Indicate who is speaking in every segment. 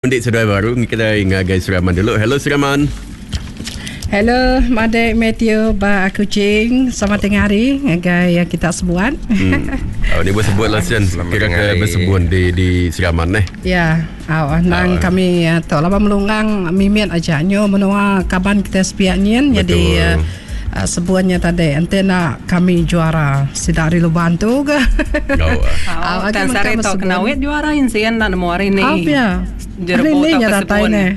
Speaker 1: Undi seduai baru kitai ngagai Seraman dulu. Hello Seraman.
Speaker 2: Hello madik Matthew ba Kuching. Selamat tengah hari ngagai kita sebuat.
Speaker 1: Hmm. Oh, ni bersebut lah Sian. Kira ke bersebut di di Seraman eh.
Speaker 2: Ya, oh, nang oh. kami eh, tu laba melunggang mimit aja nyu menua kaban kita sepiak nyin jadi uh, sebuannya tadi enti nak kami juara sida ari Luban tu ke.
Speaker 1: Oh.
Speaker 2: Oh,
Speaker 3: Tang sehari tu kena wit juara insin enda nemu hari ni.
Speaker 2: Oh pia. Hari ni nya datai ne.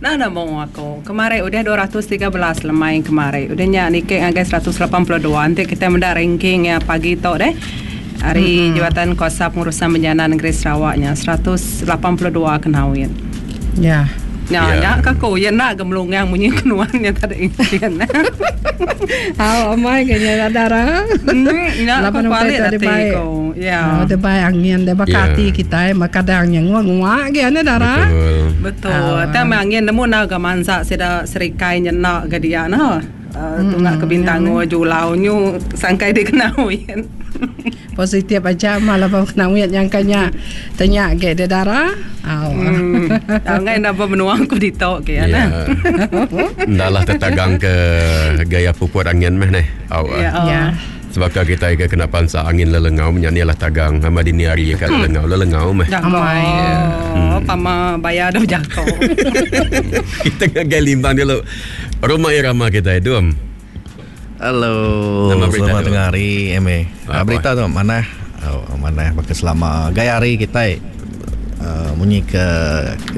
Speaker 3: Enda nemu aku. Kemari udah 213 lemai kemari. Udah nya niki ngagai 182 enti kitai meda ranking iya pagi tu deh. Ari mm-hmm. Jabatan Kuasa Pengurusan Bencana Negeri Sarawak nya 182 kena wit.
Speaker 2: Ya.
Speaker 3: Nya yeah. nya ka ku iya enda ga melungang munyi kenuan nya tadi insin.
Speaker 2: Au amai ke nya dara.
Speaker 3: Hmm, nya ku kuali ati ku.
Speaker 2: Ya. Oh, debai angin deh baka yeah. ati kitai kadang nya ngua-ngua ge ane dara.
Speaker 1: Betul.
Speaker 3: Betul. Oh. Tang angin nemu na ga mansa sida serikai nya enda ga dia nah. Uh, tunga ke Bintango Julau nyu sangkai di Kenawit.
Speaker 2: Positif aja mah laban Kenawit nyangka nya tenya ge de dara.
Speaker 3: Au. Hmm. Ngai enda benua ku ditu ke ya nah.
Speaker 1: Enda lah tetagang ke gaya puput angin meh neh. Au.
Speaker 3: Ya.
Speaker 2: Ya.
Speaker 1: Sebaka kitai ke kena pansa angin lelengau menya ni lah tagang nama dini hari ka lelengau lelengau meh.
Speaker 3: Amai. Hmm. Pama bayar dah jako.
Speaker 1: Kita ngagai limbang dulu. Rumah irama kitai dum.
Speaker 4: Hello.
Speaker 1: Nama berita
Speaker 4: Selamat
Speaker 1: tu?
Speaker 4: tengah hari MA.
Speaker 1: Apa?
Speaker 4: Berita tu manah. Oh, manah baka selama gaya hari kitai uh, munyi ke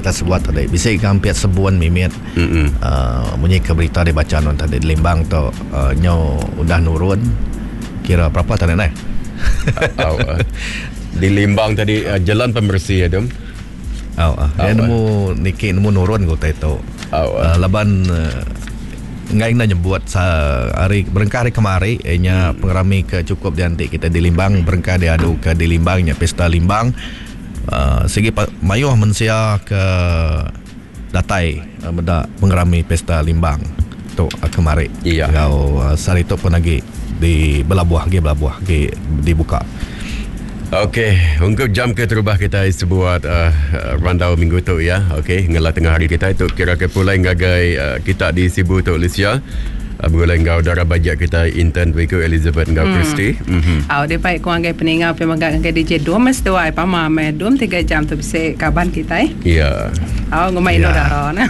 Speaker 4: kita sebuat tadi bisi ke hampir sebuan mimit.
Speaker 1: Mm-mm.
Speaker 4: Uh, munyi ke berita dibaca nuan tadi di Limbang tu uh, nyo udah nurun kira berapa tadi neh?
Speaker 1: Au. Di Limbang tadi uh, jalan pemersi ya dum.
Speaker 4: Au ah. Dia nemu niki nemu nurun ke utai tu.
Speaker 1: Au ah.
Speaker 4: Uh, laban uh, enggai enda nyebut sa hari berengkah hari kemari inya hmm. pengerami ke cukup dianti kita di Limbang berengkah diadu ke di Limbang nya pesta Limbang. Uh, sigi mayuh mensia ke datai uh, meda pengerami pesta Limbang tu uh, kemari.
Speaker 1: Iya.
Speaker 4: Enggau uh, sehari tu pun lagi di belabuh agi belabuh agi dibuka.
Speaker 1: Okey, ungkup jam keterubah kita sebuat uh, randau minggu tu ya. Okey, ngela tengah hari kita itu kira ke pulai ngagai uh, kita di Sibu tu Lucia. Uh, begulai enggau dara bajak kita intern Wiku Elizabeth enggau hmm. Christy.
Speaker 3: Mm-hmm. Au dia baik ku ngagai peninga pe mega ngagai DJ Dum mes tuai pama me Dum 3 jam tu bisi kaban kita.
Speaker 1: Ya.
Speaker 3: Au ngumbai indu dara nah.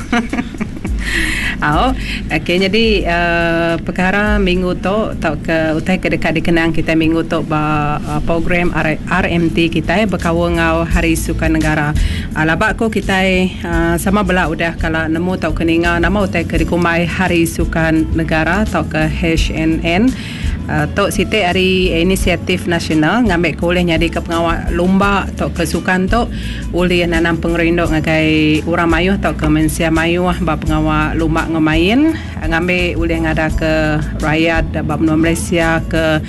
Speaker 3: Au, okey nyadi uh, perkara minggu tu tauka utai ke deka dikenang kitai minggu tu ba uh, program R- RMT kitai bekaul enggau Hari Sukan Negara. Uh, laba ku kitai uh, sama bela udah kala nemu tauka ninga nama utai ke dikumbai Hari Sukan Negara tauka HNN. Tu siti ari inisiatif nasional ngambika ulih nyadika pengawa lumba tauka sukan tu ulih nanam pengerindu ngagai orang mayuh tauka mensia mayuh ba pengawa lumba enggau main ngambi ulih ngadaka rayat ba menua Malaysia ke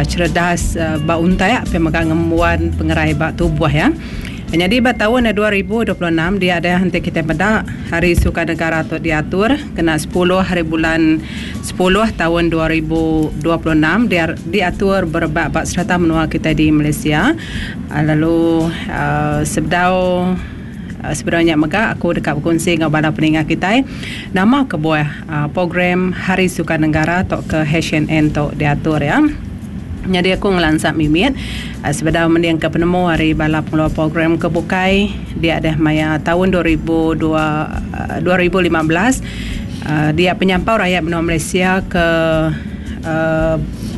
Speaker 3: cheredas ba untak pia mega ngembuan pengerai ba tubuh iya. Nyadi ba taun 2026 dia deh enti kitai meda Hari Sukan Negara tu diatur kena sepuluh hari bulan sepuluh taun 2026 dia diatur berebak ba serata menua kitai di Malaysia lalu sebedau sebedau nya mega aku deka bekunsi enggau bala peninga kitai nama kebuah program Hari Sukan Negara tauka HNN tu diatur iya. Nyadi aku ngelansa mimit sebedau mendingka penemu ari bala pengeluar program ke bukai dia deh maya taun 2002 2015 dia penyampau rayat menua Malaysia ke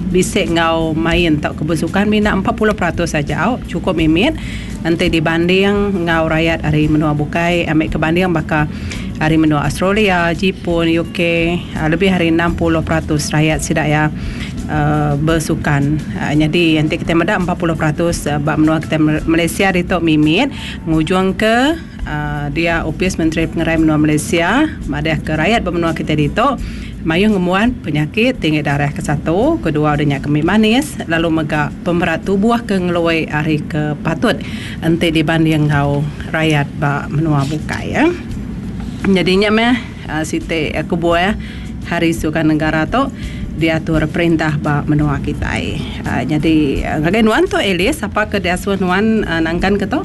Speaker 3: bisi enggau main tauka besukan mina 40% aja au chukup mimit enti dibanding enggau rayat ari menua bukai ambi ke banding baka ari menua Australia, Jipun, UK lebih ari 60% rayat sida iya besukan. Nyadi enti kitai meda 40% ba menua kitai Malaysia ditu mimit ngujungka dia Opis Menteri Pengerai Menua Malaysia madahka rayat ba menua kitai ditu mayuh ngembuan penyakit tinggi darah ke satu, kedua udah nya kemi manis lalu mega pemerat tubuh ke ngelui ari ke patut enti dibanding enggau rayat ba menua bukai. Nyadi nya meh siti kebuah Hari Sukan Negara tu diatur perintah ba menua kitai. Nyadi ngagai nuan tu Alice, sapa ke diasuh nuan nangkan ke tu?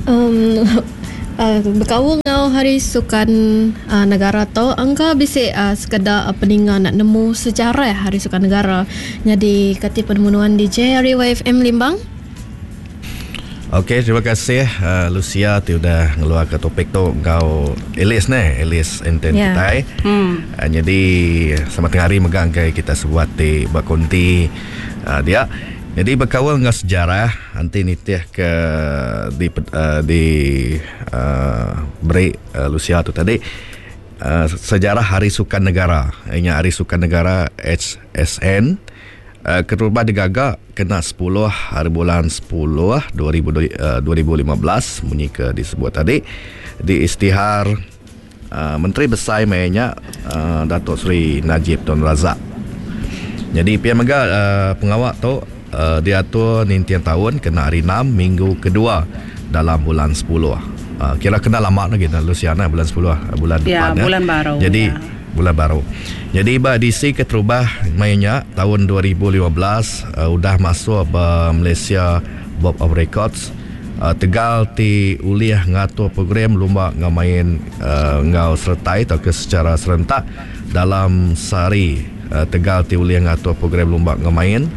Speaker 5: Um Bekaul enggau Hari Sukan Negara tu, engka bisi sekeda peninga enda nemu sejarah Hari Sukan Negara. Nyadi kati penemu nuan DJ ari YFM Limbang?
Speaker 4: Okey, terima kasih Lucia ti udah ngeluarka topik tu enggau Alice neh, Alice Enten yeah. kitai. Hmm. Nyadi selamat tengah hari mega enggai kita sebuat ti ba konti dia. Nyadi bekaul enggau sejarah enti nitih ke di di beri Lucia tu tadi sejarah Hari Sukan Negara iya nya Hari Sukan Negara HSN keterubah digaga kena sepuluh hari bulan sepuluh 2015 munyi ke disebut tadi diistihar Menteri Besai maya nya Datuk Seri Najib Tun Razak. Nyadi pia mega pengawa tu diatur ninting taun kena hari enam minggu kedua dalam bulan sepuluh. Kira kena lama agi Luciana bulan sepuluh bulan
Speaker 3: depan
Speaker 4: ya.
Speaker 3: Bulan baru.
Speaker 4: Jadi Bulan baru. Nyadi ba edisi keterubah maya nya taun 2015 udah masuk ba Malaysia Book of Records tegal ti ulih ngatur program lumba enggau main enggau seretai tauka secara serentak dalam sehari tegal ti ulih ngatur program lumba enggau main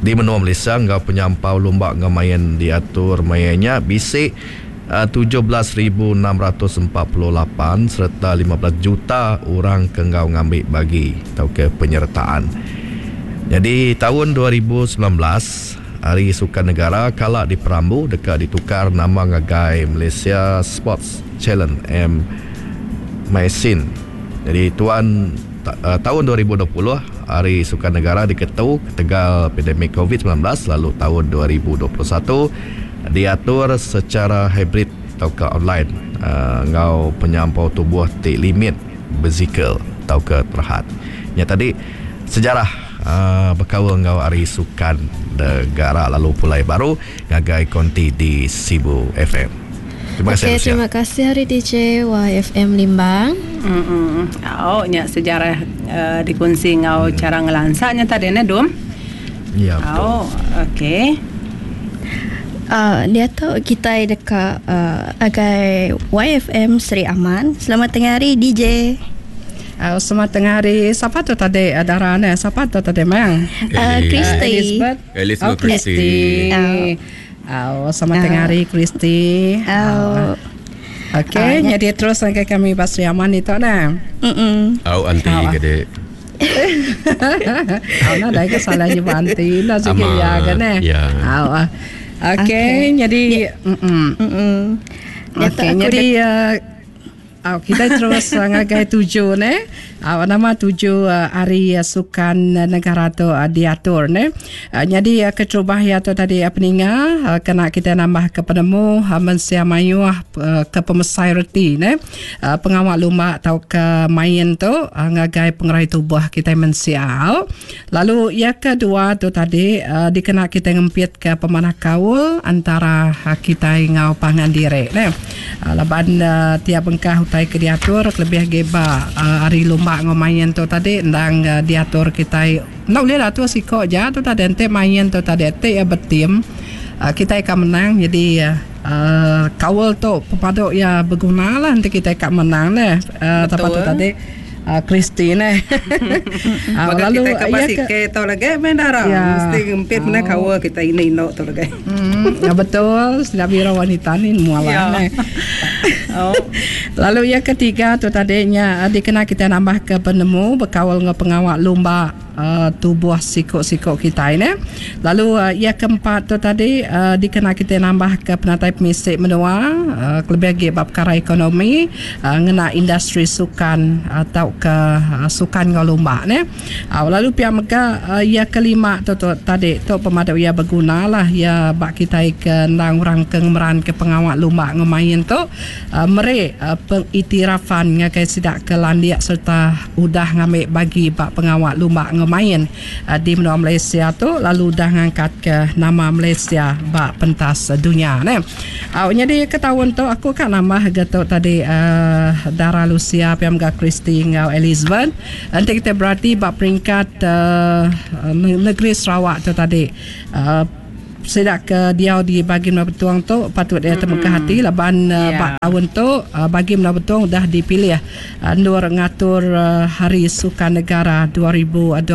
Speaker 4: di menua Malaysia enggau penyampau lumba enggau main diatur maya nya bisi 17,648 sereta 15 juta orang ke enggau ngambi bagi tauka penyertaan. Nyadi taun 2019, Hari Sukan Negara kala diperambu deka ditukar nama ngagai Malaysia Sports Challenge M Maisin. Nyadi tuan taun 2020, Hari Sukan Negara diketu ketegal pandemik Covid 19 lalu taun 2021, Diatur sechara hibrid tauka online enggau penyampau tubuh ti limit besikal tauka terhad. Nya tadi sejarah bekaul enggau Hari Sukan Negara lalu pulai baru ngagai konti di Sibu FM.
Speaker 5: Terima kasih Lucia. Terima kasih ari DJ YFM Limbang.
Speaker 3: Au nya sejarah dikunsi enggau chara ngelansa nya tadi neh Dum.
Speaker 4: Ya betul.
Speaker 3: Au okey.
Speaker 6: Diatu kitai deka agai YFM Sri Aman. Selamat tengah hari DJ.
Speaker 2: Selamat tengah hari. Sapa tu tadi dara ne? Sapa tu tadi mang?
Speaker 6: Christy.
Speaker 2: Elizabeth.
Speaker 1: Elizabeth
Speaker 2: oh, Christy. Oh, selamat tengah hari Christy.
Speaker 6: Oh.
Speaker 2: Okey, jadi terus ngagai kami ba Sri Aman ditu nah.
Speaker 6: Mm.
Speaker 1: Au anti gede.
Speaker 2: Au nadai ke salah nyebut anti enda sigi iya ke neh. Au. Okey, jadi mm. Okey, jadi Au kitai terus ngagai tuju neh. Au nama tuju hari sukan negara tu diatur neh. Nyadi keterubah iya tu tadi peninga kena kitai nambah ke penemu mensia mayuh ke pemesai reti neh. Pengawa lumba tauka main tu ngagai pengerai tubuh kitai mensia. Lalu iya ke dua tu tadi dikena kitai ngempitka pemanah kaul antara kitai enggau pangan diri neh. Laban tiap bengkah utai ke diatur kelebih agi ba hari lumba enggau main tu tadi endang diatur kitai enda ulih diatur siko aja tu tadi enti main tu tadi enti iya betim kitai ka menang jadi Kaul tu pemadu iya beguna lah enti kitai ka menang neh. Sapa tu tadi Christy neh.
Speaker 3: Baka kitai ka basike tu lagi meh dara. Mesti ngempit meh kaul kitai indu indu tu lagi.
Speaker 2: Ya betul sida biro wanita ni nemu alah neh. Lalu iya ketiga tu tadi nya dikena kitai nambah ke penemu bekaul enggau pengawa lumba. Tubuh siku-siku kitai neh. Lalu iya keempat tu tadi dikena kitai nambahka penatai pemisi menua kelebih agi ba pekara ekonomi ngena industri sukan tauka sukan enggau lumba neh. Lalu pia mega iya kelima tu tadi tu pemadu iya beguna lah iya ba kitai ke endang orang ke ngemeranka pengawa lumba enggau main tu meri pengiktirafan ngagai sida ke landik sereta udah ngambi bagi ba pengawa lumba enggau main di menua Malaysia tu lalu udah ngangkatka nama Malaysia ba pentas dunya neh. Au nyadi ke taun tu aku ka nambah ga tu tadi uhh Dara Lucia pia mega Christy enggau Elizabeth enti kitai berati ba peringkat uhh negeri Sarawak tu tadi uhh. Sida ke diau di Bagi Menua Betong tu patut iya temegah ati laban ba taun tu Bagi Menua Betong udah dipilih endur ngatur Hari Sukan Negara 2026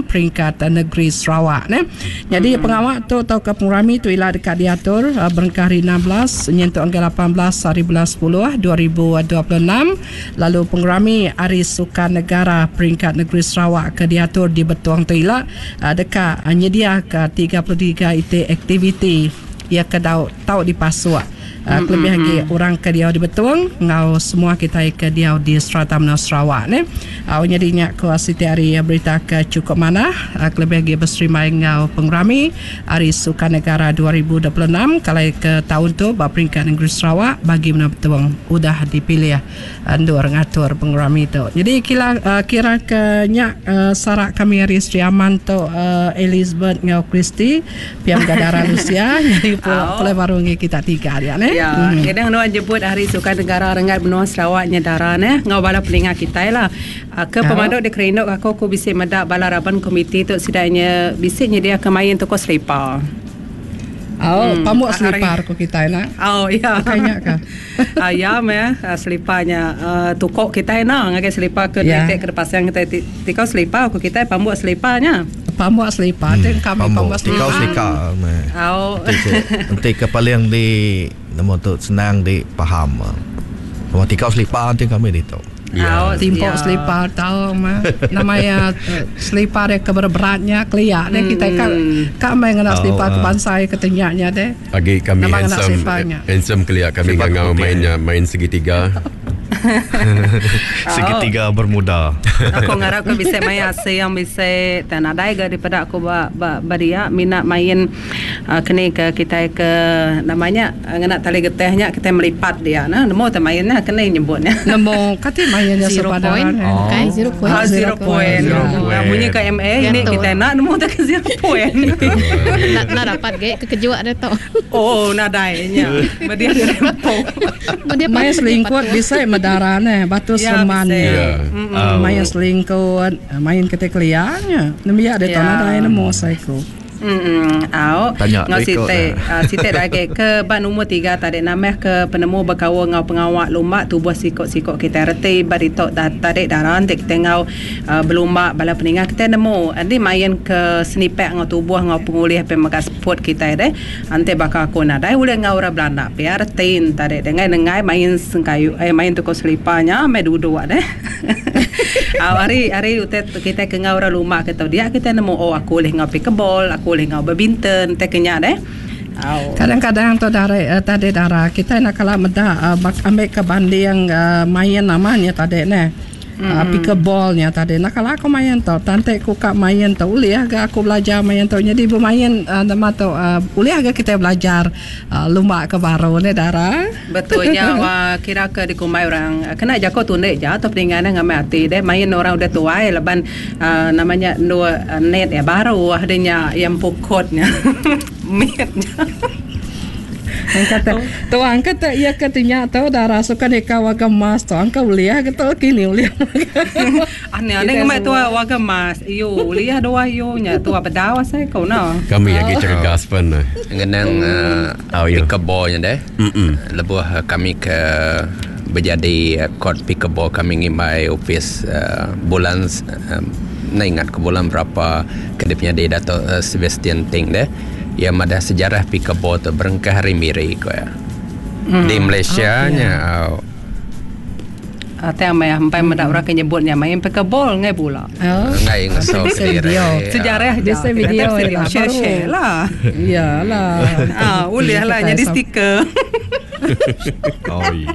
Speaker 2: peringkat negeri Sarawak neh. Nyadi pengawa tu tauka pengerami tu ila deka diatur berengkah hari 16 nyentuk ngagai 18 hari bulan sepuluh 2026 lalu pengerami Hari Sukan Negara peringkat negeri Sarawak ke diatur di Betong tu ila Deka nyediaka 33 iti aktiviti iya ke dau tau dipasuk kelebih agi orang ke diau di Betong enggau semua kitai ke diau di serata menua Sarawak neh. Au nyadi nya ku siti ari berita ke chukup manah kelebih agi beserimbai enggau pengerami Hari Sukan Negara 2026 kalai ke taun tu ba peringkat nengeri Sarawak bagi menua Betong udah dipilih endur ngatur pengerami tu. Jadi kila kira ke nya sarak kami ari Sri Aman tu Elizabeth enggau Christy pia mega dara Lucia nyadi pulai baru ngi kita tiga dia neh.
Speaker 3: Ya, kadang nuan nyebut Hari Sukan Negara renggat menua Sarawak nya dara neh enggau bala peninga kitai lah. Ke pemadu dikerindu aku ku bisi meda bala raban komiti tu sida nya bisi nyediaka main tukuh selipa.
Speaker 2: Au, pamuk selipar ku kitai nah.
Speaker 3: Au, ya.
Speaker 2: Ukai nya ka.
Speaker 3: Ya meh selipar nya tukok kitai enda ngagai selipar ke
Speaker 2: Ya.
Speaker 3: ti ke dipasang kitai ti tikau selipar ku kitai pamuk selipar nya.
Speaker 2: Pamuk selipar ti kami
Speaker 4: Pamuk
Speaker 2: pamuk
Speaker 4: tikau
Speaker 2: selipar.
Speaker 4: selika meh.
Speaker 3: Au.
Speaker 4: Enti ke enti ke paling di nemu tu senang di paham. Pamuk tikau selipar enti kami ditu.
Speaker 3: Ya.
Speaker 2: Timpok selipar tau mah. Nama iya selipar iya ke berat-berat nya kelia deh kitai ka ka meh ngena selipar ke bansa iya ke tenya nya deh.
Speaker 1: Agi kami
Speaker 2: Nama ngena
Speaker 1: handsome
Speaker 2: selipar nya.
Speaker 1: handsome kelia kami ngangau main nya main segitiga.
Speaker 4: Segitiga bermuda.
Speaker 3: Aku ngarap ke bisi main asing bisi tang nadai ga dipeda aku ba ba ba dia mina main keni ke kitai ke nama nya Ngena tali getah nya kitai melipat dia nah nemu te main nya keni nyebut nya.
Speaker 2: Nemu kati main nya
Speaker 5: Zero
Speaker 2: suba
Speaker 5: point.
Speaker 2: dara ne.
Speaker 5: Bukai zero point.
Speaker 3: Ah zero point.
Speaker 1: Zero point.
Speaker 3: Munyi ke MA ini kitai enda nemu te ke zero point.
Speaker 5: Enda enda dapat ge kekejuak dia tu.
Speaker 3: Oh nadai nya. Ba dia dirempo.
Speaker 5: Ba dia
Speaker 2: Main
Speaker 5: patut dia
Speaker 2: selingkut
Speaker 5: patut.
Speaker 2: bisi medara neh batu
Speaker 3: Ya
Speaker 2: sereman
Speaker 3: bisi.
Speaker 2: nya.
Speaker 1: Ya.
Speaker 2: Main selingkut, main keti kelia nya. Nembiak ditu
Speaker 3: Ya.
Speaker 2: nadai nemu seiku.
Speaker 3: Mm au
Speaker 4: Tanya
Speaker 3: enggau
Speaker 4: deh ko
Speaker 3: siti
Speaker 4: dah.
Speaker 3: siti da agi ke ba numur tiga tadi nambah ke penemu bekaul enggau pengawa lumba tubuh siko-siko kitai reti ba ditu tadi dara enti kitai enggau belumba bala peninga kitai nemu enti main ke senipak enggau tubuh enggau pengulih pe mega sport kitai deh enti baka aku nadai ulih enggau orang belanda pia reti ne tadi deh enggai nenggai main sengkayu eh main tukar selipar nya meh duduk deh au ari ari utai Kitai ke enggau orang lumba ke tau dia kitai nemu oh aku ulih enggau pickleball, aku ulih enggau badminton tai ke nya deh. Au.
Speaker 2: Kadang-kadang tu dari tadi dara kitai enda kala meda ambi ke banding main nama nya tadi neh. Pickleball nya tadi enda kala aku main tu. Tang enti ku ka main tu ulih ga aku belajar main tu. Nyadi bemain nama tu ulih ga kitai belajar lumba ke baru neh dara.
Speaker 3: Betul nya wah kira ke dikumbai orang kena jako tundi ja atau peninga ne ngamai ati deh main orang udah tuai laban uhh nama nya endur net iya baru deh nya iya empu court nya mit nya.
Speaker 2: Angka te tu angka te iya ke ti nya tu dara suka nika warga emas tu angka ulih ke tu kini ulih.
Speaker 3: Anih anih ngemai tua warga emas iyo ulih dua iyo nya tua bedau asai ku ne.
Speaker 1: Kami agi cergas pen.
Speaker 7: Ngenang pickleball nya deh. Lebuh kami ke bejadi court pickleball kami ngimbai opis bulan enda ingat ke bulan berapa ke dipenyadi Dato Sebastian Ting deh iya madah sejarah pickleball tu berengkah ari Miri ku iya. Di Malaysia nya au.
Speaker 3: Tang meh empai meda orang ke nyebut nya main pickleball enggai bula.
Speaker 7: Enggai ngeso kediri.
Speaker 3: Sejarah ja.
Speaker 2: Bisi video ila
Speaker 3: share share lah.
Speaker 2: Ya lah.
Speaker 3: Ah ulih lah nyadi stiker.
Speaker 4: Oi.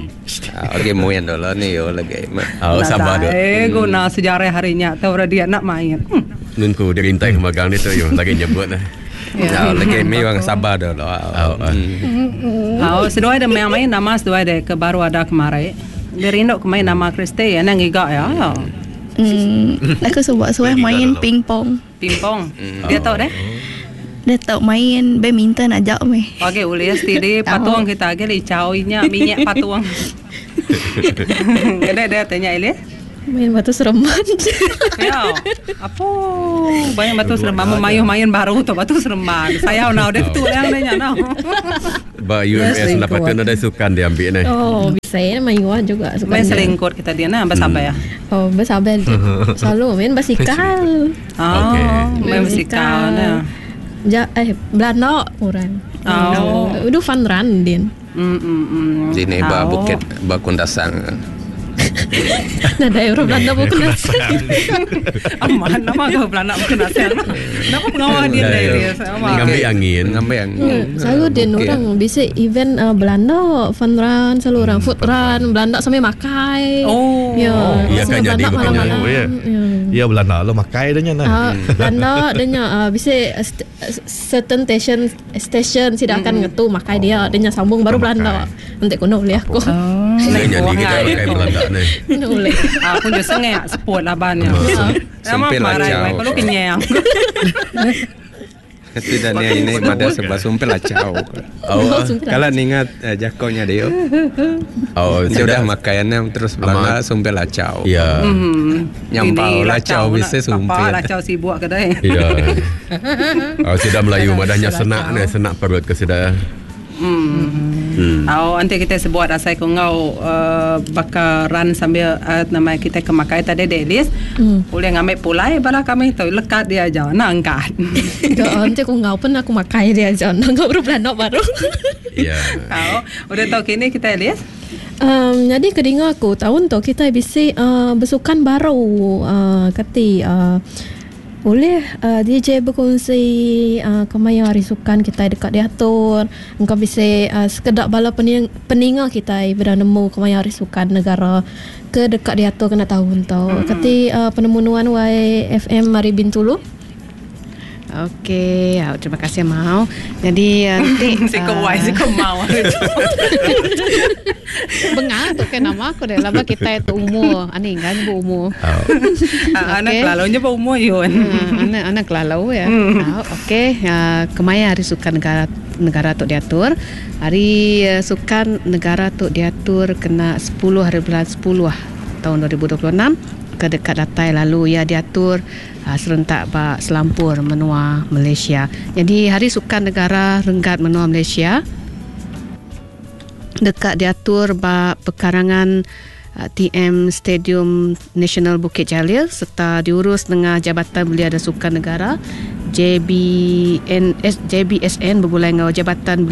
Speaker 7: Okey muin dulu ni yo lagi.
Speaker 1: Oh sabar duk.
Speaker 3: Eh guna sejarah hari nya tu orang dia nak main.
Speaker 1: Nengku dirintai ke magang ditu yo lagi nyebut lah.
Speaker 7: Ya lagi mi orang sabar dulu.
Speaker 3: Oh seduai dah main nama seduai deh ke baru ada kemari. Dia rindu ke main nama Christy anang ngiga iya.
Speaker 6: Hmm, aku suba suah main ping pong.
Speaker 3: Ping pong. Dia tau deh.
Speaker 6: Dia tau main badminton aja meh.
Speaker 3: Agi ulih steady patung kita agi licau inya minyak patung. Ngedai dia tanya ilih.
Speaker 5: Main batu seremban.
Speaker 3: Ya. Apo banyak batu seremban mayuh main baru tu batu seremban. Sayau nau deh tu yang nya nau.
Speaker 1: Ba UMS enda patut nadai sukan diambi neh.
Speaker 5: Oh, bisa ya mayuh juga
Speaker 3: sukan. Main selingkut kita dia nah bersabar.
Speaker 5: Oh, bersabar. Selalu main basikal.
Speaker 3: Oh, okay. Main basikal nah.
Speaker 5: Ja, eh Belanda orang.
Speaker 3: Oh.
Speaker 5: Udah fun run din.
Speaker 7: Dini ba bukit ba Kundasang.
Speaker 5: Nadai orang Belanda ba Kundasang.
Speaker 3: Amat nama ke Belanda ba Kundasang. Nama pengawa din deh dia.
Speaker 1: Ngambi angin.
Speaker 7: Ngambi angin.
Speaker 5: Selalu din orang bisi event Belanda fun run selalu orang food run Belanda sambil makai.
Speaker 3: Oh.
Speaker 5: Ya.
Speaker 1: Iya kan jadi
Speaker 5: malam-malam.
Speaker 4: Ya Belanda lo makai dah nya nah.
Speaker 5: Belanda dia nya bisi certain station station sida akan ngetu makai dia dia nya sambung baru Belanda. Enti kuno ulih aku.
Speaker 1: Enda nyadi kita makai Belanda ni.
Speaker 5: Enda ulih.
Speaker 3: Aku je sengak seput laban nya.
Speaker 7: Sumpil lacau.
Speaker 3: Kalau kenyang.
Speaker 7: Tidak ni ini pada sebab sumpil lacau.
Speaker 1: Oh,
Speaker 7: kalau ningat jakonya dia.
Speaker 1: Oh,
Speaker 7: sudah makannya terus Belanda sumpil lacau.
Speaker 1: Ya.
Speaker 7: Nyampau lacau bisa sumpil.
Speaker 3: Apa lacau sibuk kedai.
Speaker 1: Ya. Oh, sudah Melayu madahnya senak ni, senak perut ke sudah.
Speaker 3: Oh, nanti kita sebut asai ku ngau baka run sambil nama kita kemakai tadi delis. Boleh ngambil pulai bala kami tu lekat dia aja nak angkat.
Speaker 5: Nanti aku ngau pun aku makai dia aja. Nak ngau baru belanda baru.
Speaker 1: Ya.
Speaker 3: Oh, udah tahu kini kita Elis.
Speaker 5: Jadi kedinga aku tahun tu kita bisi bersukan baru kati boleh DJ berkongsi kemaya hari sukan kita dekat diatur. Engkau bisa sekedak bala peninga kita bernemu kemaya hari sukan negara ke dekat diatur kena tahun tau. Kati penemuan YFM Mari Bintulu.
Speaker 8: Okey, terima kasih mau. Jadi nanti
Speaker 3: siko wai siko mau.
Speaker 8: Bengang tu kan nama aku dah lama kita itu umur. Ani kan bu umur.
Speaker 3: Anak lalu nya bu umur yun.
Speaker 8: Anak lalu ya. Okey, kemaya hari sukan negara tu diatur. Hari sukan negara tu diatur kena 10 hari bulan 10 tahun 2026 ke dekat datai lalu ia diatur serentak ba selampur menua Malaysia. Jadi hari sukan negara renggat menua Malaysia dekat diatur ba pekarangan TM Stadium Nasional Bukit Jalil serta diurus dengan Jabatan Belia dan Sukan Negara JBSN bergulai dengan Jabatan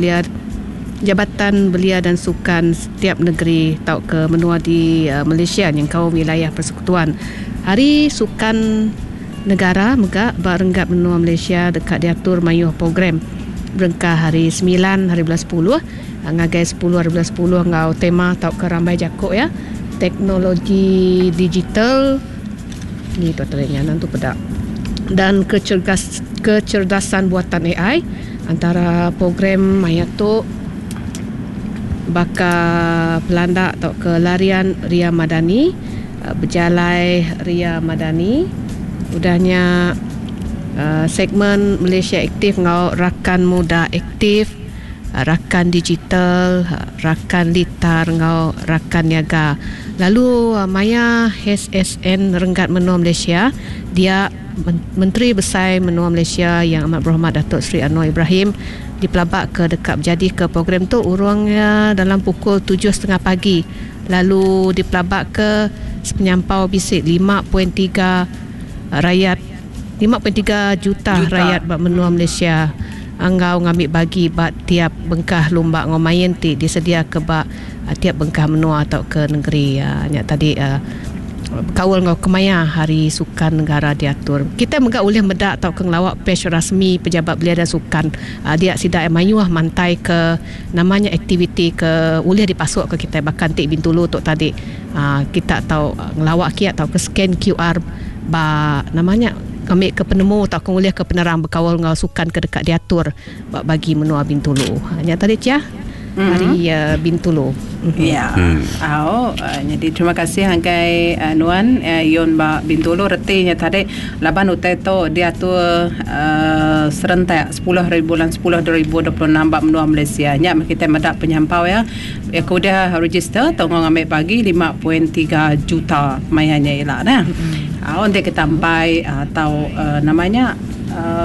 Speaker 8: Belia dan Sukan setiap negeri tau ke menua di Malaysia yang kau wilayah persekutuan. Hari Sukan Negara mega barenggat menua Malaysia dekat diatur mayuh program berengkah hari 9 hari bulan 10 ngagai 10 hari bulan 10 ngau tema tau ke rambai jakuk ya teknologi digital ni tu terangnya nanti pedak dan kecerdasan buatan AI antara program maya tu baka pelanda atau ke larian Ria Madani berjalai Ria Madani udahnya segmen Malaysia Aktif ngau rakan muda aktif rakan digital rakan litar ngau rakan niaga lalu maya HSN renggat menua Malaysia dia Menteri Besar Menua Malaysia yang amat berhormat Datuk Seri Anwar Ibrahim dipelabak ke dekat berjadi ke program tu urangnya dalam pukul 7.30 pagi lalu dipelabak ke sepenyampau bisik 5.3 rakyat 5.3 juta rakyat bak menua Malaysia anggau ngambil bagi bak tiap bengkah lumba ngomain ti disedia ke bak tiap bengkah menua atau ke negeri nya tadi kawal ngau kemaya hari sukan negara diatur. Kita megak boleh medak atau ke ngelawak page rasmi pejabat belia dan sukan. Dia sidak mayuh mantai ke namanya aktiviti ke boleh dipasuk ke kita bahkan tik Bintulu tok tadi. Kita tahu ngelawak kiat atau ke scan QR ba namanya ambil ke penemu atau ke boleh ke penerang berkawal ngau sukan ke dekat diatur bagi menua Bintulu. Hanya tadi Cia. Ari Bintulu.
Speaker 3: Ya. Au, nyadi terima kasih ngagai nuan Yun ba Bintulu reti nya tadi laban utai tu diatur serentak sepuluh hari bulan sepuluh 2026 ba menua Malaysia. Nya meh kitai meda penyampau iya ke udah register tu enggau ngambi bagi 5.3 juta maya nya ila neh. Au enti kita empai tau nama nya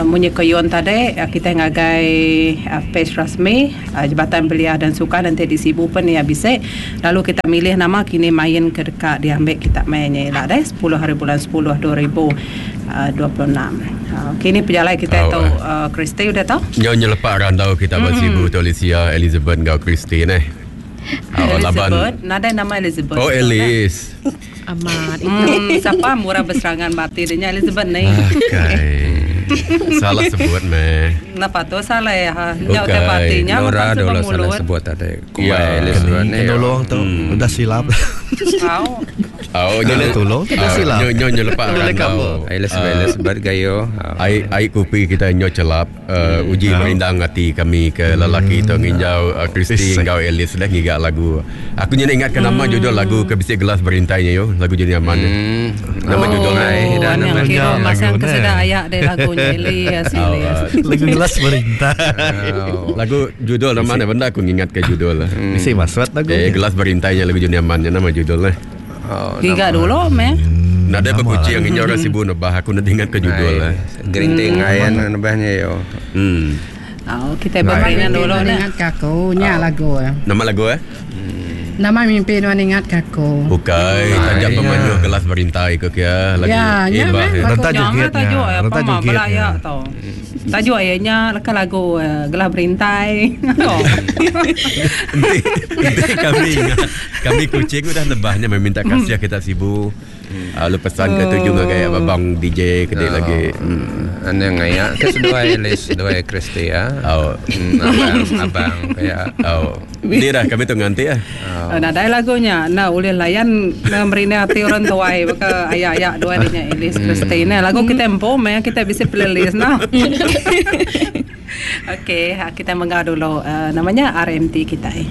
Speaker 3: munyi ko Yun tadi kitai ngagai page rasmi. Jabatan Belia dan Sukan enti di Sibu pen iya bisi lalu kita milih nama kini main ke deka diambi kita maya nya ila deh sepuluh hari bulan sepuluh 2026. Kini pejalai kitai tu Christy udah tau.
Speaker 1: Nyau nyelepak randau kita ba Sibu tu Alicia, Elizabeth enggau Christy neh.
Speaker 3: Elizabeth nadai nama Elizabeth.
Speaker 1: Oh Alice.
Speaker 8: Amat
Speaker 3: itu. Sapa murah beserangan ba ati dia nya Elizabeth ni.
Speaker 1: Akai. Salah sebut meh.
Speaker 3: Napa tu salah ya. Nya utai ba ati nya
Speaker 7: Nora dulu salah sebut tadi.
Speaker 1: Kumbai
Speaker 4: Elizabeth ni. Tolong tu udah silap.
Speaker 3: Au.
Speaker 1: Au
Speaker 4: nya tolong tu silap.
Speaker 1: Nyo nyo nyo lepak randau.
Speaker 7: Elizabeth Elizabeth gayo.
Speaker 1: Ai ai kopi kita nyo celap. Uji merindang ati kami ke lelaki tu nginjau Christy enggau Alice deh ngiga lagu. Aku nyadi ingat ke nama judul lagu ke bisi gelas berintai nya yo, lagu Juni Aman nya. Nama judul nya.
Speaker 3: Oh, anang kira masang ke sida ayak deh lagu nya Elias Elias.
Speaker 4: Lagu gelas berintai.
Speaker 1: Lagu judul nama nya bendar aku ngingat ke judul.
Speaker 4: Bisi maksud lagu
Speaker 1: nya. Eh gelas berintai nya lagu Juni Aman nya nama judul nya.
Speaker 3: Giga dulu meh.
Speaker 1: Nadai bekuching nginjau orang Sibu nebah aku enda ingat ke judul eh.
Speaker 7: Gerinting ayan nebah nya yo.
Speaker 1: Hmm.
Speaker 3: Au kitai bemain dulu
Speaker 2: nah. Ingat ke aku nya lagu eh.
Speaker 1: Nama lagu eh?
Speaker 2: Nama mimpi nuan ingat ke aku.
Speaker 1: Bukai taja pemayuh gelas berintai ke kia lagu.
Speaker 2: Ya, nya meh
Speaker 4: lagu. Renta joget nya.
Speaker 3: Renta joget nya. Tajuk iya nya leka lagu Gelah Berintai.
Speaker 1: Enti enti kami ingat kami kuching udah nebah nya meminta kasih kita sibu lalu pesan ke tuju ngagai abang DJ ke dik lagi.
Speaker 7: Anang ngaya ke seduai Alice seduai Christy ya.
Speaker 1: Au.
Speaker 7: Abang abang pia.
Speaker 1: Au. Ni dah kami tu nganti ah.
Speaker 3: Nadai lagu nya enda ulih layan merindang ati orang tuai baka aya-aya duai dinya Alice Christy neh. Lagu kitai empu meh kitai bisi playlist noh. Okey kitai mengga dulu nama nya RMT kitai.